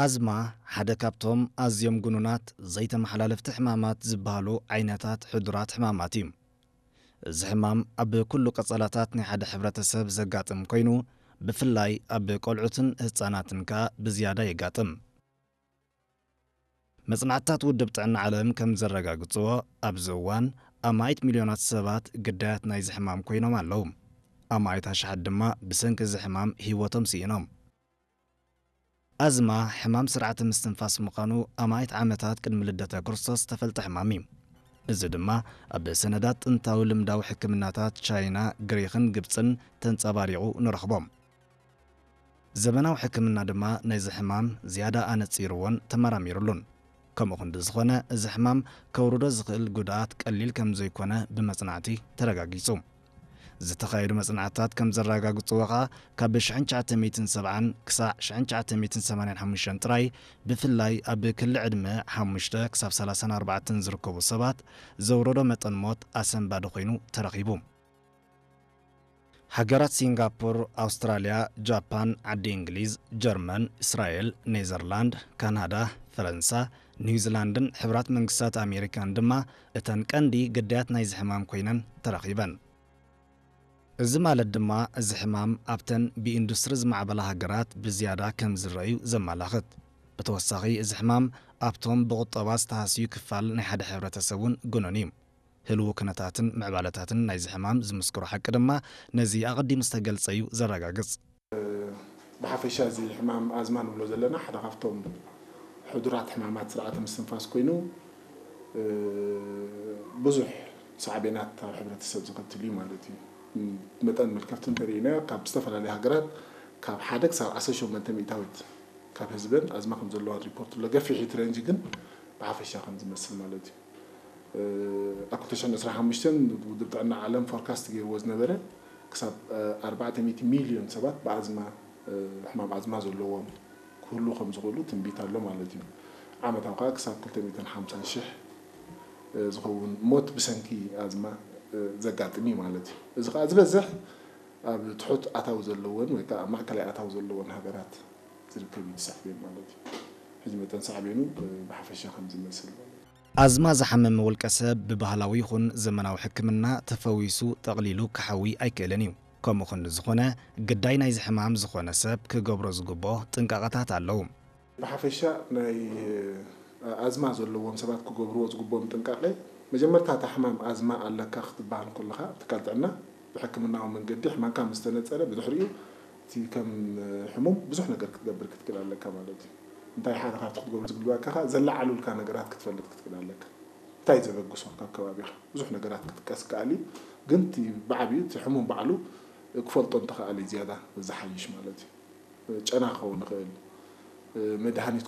ኣዝማ ሓደ ካብቶም ኣዝዮም ግኑናት ዘይተመሓላለፍቲ ሕማማት ዝበሃሉ ዓይነታት ሕዱራት ሕማማት እዩ። እዚ ሕማም ኣብ ኩሉ ቀጸላታት ናይ ሓደ ሕብረተሰብ ዘጋጥም ኮይኑ፣ ብፍላይ ኣብ ቆልዑትን ህጻናትን ከኣ ብዝያዳ የጋጥም። መጽናዕትታት ውድብ ጥዕና ዓለም ከም ዘረጋግጽዎ፣ ኣብዚ እዋን ኣማኢት ሚልዮናት ሰባት ግዳያት ናይዚ ሕማም ኮይኖም ኣለዉ። ኣማኢት ኣሽሓት ድማ ብሰንኪ እዚ ሕማም ህይወቶም ስኢኖም። ኣዝማ ሕማም ስርዓተ ምስትንፋስ ምዃኑ ኣማኢት ዓመታት ቅድሚ ልደተ ክርስቶስ ዝተፈልጠ ሕማም እዩ። እዚ ድማ ኣብ ሰነዳት ጥንታዊ ልምዳዊ ሕክምናታት ቻይና፣ ግሪኽን ግብጽን ተንጸባሪቑ ንረኽቦ። ዘመናዊ ሕክምና ድማ ነዚ ሕማም ዝያዳ ኣነጺርዎን ተመራሚሩሉን። ከምኡ ክንዲ ዝኾነ፣ እዚ ሕማም ከውርዶ ዝኽእል ጉድኣት ቀሊል ከም ዘይኮነ ብመጽናዕቲ ተረጋጊጹ። ዝተኻየዱ መጽናዕትታት ከም ዘረጋግጽዎ ከኣ፣ ካብ ሽሕን ትሽዓተ ሚእትን ሰብዓን ክሳዕ ሽሕን ትሽዓተ ሚእትን ሰማንያን ሓሙሽተን ጥራይ፣ ብፍላይ ኣብ ክሊ ዕድመ ሓሙሽተ ክሳብ ሰላሳን ኣርባዕተን ዝርከቡ ሰባት፣ ዘውረዶ መጠን ሞት ኣሰንባዲ ኮይኑ ተረኺቡ። ሃገራት ሲንጋፖር፣ ኣውስትራልያ፣ ጃፓን፣ ዓዲ እንግሊዝ፣ ጀርመን፣ እስራኤል፣ ኔዘርላንድ፣ ካናዳ፣ ፈረንሳ፣ ኒውዚላንድን ሕቡራት መንግስታት ኣሜሪካን ድማ እተን ቀንዲ ግዳያት ናይዚ ሕማም ኮይነን ተረኺበን። እዚ ማለት ድማ፣ እዚ ሕማም ኣብተን ብኢንዱስትሪ ዝማዕበላ ሃገራት ብዝያዳ ከም ዝረኣዩ ዘመላኽት። ብተወሳኺ፣ እዚ ሕማም ኣብቶም ብቑጠባ ዝተሃስዩ ክፋል ናይ ሓደ ሕብረተሰብ እውን ግኑን እዩ። ህልው ኩነታትን ምዕባለታትን ናይዚ ሕማም ዝምስክሮ ሓቂ ድማ ነዚ ኣቐዲሙ ዝተገልጸ እዩ ዘረጋግጽ። ብሓፈሻ፣ እዚ ሕማም ኣዝማ ንብሎ ዘለና ሓደ ካብቶም ሕዱራት ሕማማት ስርዓተ ምስትንፋስ ኮይኑ፣ እ፣ ብዙሕ ሳዕቤናት ኣብ ሕብረተሰብ ዘኸትል እዩ ማለት እዩ። መጠን መልከፍቲ እንተሪኢና፣ ካብ ዝተፈላለዩ ሃገራት ካብ ሓደ ክሳብ ዓሰርተ ሸሞንተ ሚእታዊት ካብ ህዝበን ኣዝማ ከም ዘለዋ ሪፖርት ኣሎ። ገፊሕ እቲ ሬንጅ ግን ብሓፈሻ ከም ዝመስል ማለት እዩ። እ፣ ኣብ ክልተ ሽሕን ዕስራን ሓሙሽተን ውድብ ጥዕና ዓለም ፎርካስት ገይርዎ ዝነበረ ክሳብ፣ እ፣ ኣርባዕተ ሚእቲ ሚልዮን ሰባት ብኣዝማ፣ እ፣ ሕማም ኣዝማ ዘለዎም ክህሉ ከም ዝኽእሉ ትንቢት ኣሎ ማለት እዩ። ዓመታዊ ከዓ ክሳብ ክልተ ሚእትን ሓምሳን ሽሕ፣ እ፣ ዝኸውን ሞት ብሰንኪ ኣዝማ፣ እ፣ ዘጋጥም እዩ ማለት እዩ። እዚ ከዓ ዝበዝሕ ኣብ ትሑት ኣታዊ ዘለወን ወይ ከዓ ኣብ ማእከላይ ኣታዊ ዘለወን ሃገራት ዝርከብ እዩ፣ ዝሳዕቤን ማለት እዩ። ሕጂ መጠን ሳዕቤኑ፣ እ፣ ብሓፈሻ ከም ዝመስል ማለት እዩ። ኣዝማ ዝሓመመ ውልቀ ሰብ ብባህላዊ ይኹን ዘመናዊ ሕክምና ተፈዊሱ ጠቕሊሉ ክሓዊ ኣይክእልን እዩ። ከምኡ ክንዲ ዝኾነ፣ ግዳይ ናይዚ ሕማም ዝኾነ ሰብ ክገብሮ ዝግብኦ ጥንቃቐታት ኣለዉ። ብሓፈሻ ናይ ኣዝማ ዘለዎም ሰባት ክገብርዎ ዝግብኦም ጥንቃቄ፣ መጀመርታ እታ ሕማም ኣዝማ ኣለካ ክትበሃል ከለኻ፣ ኣብ ትካል ጥዕና ብሕክምናዊ መንገዲ ሕማምካ ምስ ተነጸረ፣ ብድሕሪኡ እቲ ከም ሕሙም ብዙሕ ነገር ክትገብር ክትክእል ኣለካ ማለት እዩ። እንታይ ሓደ ካብቲ ክትገብሮ ዝግባእካ፣ ዘለዓሉልካ ነገራት ክትፈልጥ ክትክእል ኣለካ። እንታይ ዘበግሶ ካብ ከባቢኻ፣ ብዙሕ ነገራት ክጥቀስ ይከኣል እዩ። ግን እቲ ብዓቢኡ እቲ ሕሙም ባዕሉ ክፈልጦ እንተኸኣለ እዩ ዝያዳ ዝሓይሽ ማለት እዩ። ጨና ክኸውን ይኽእል፣ መድሃኒት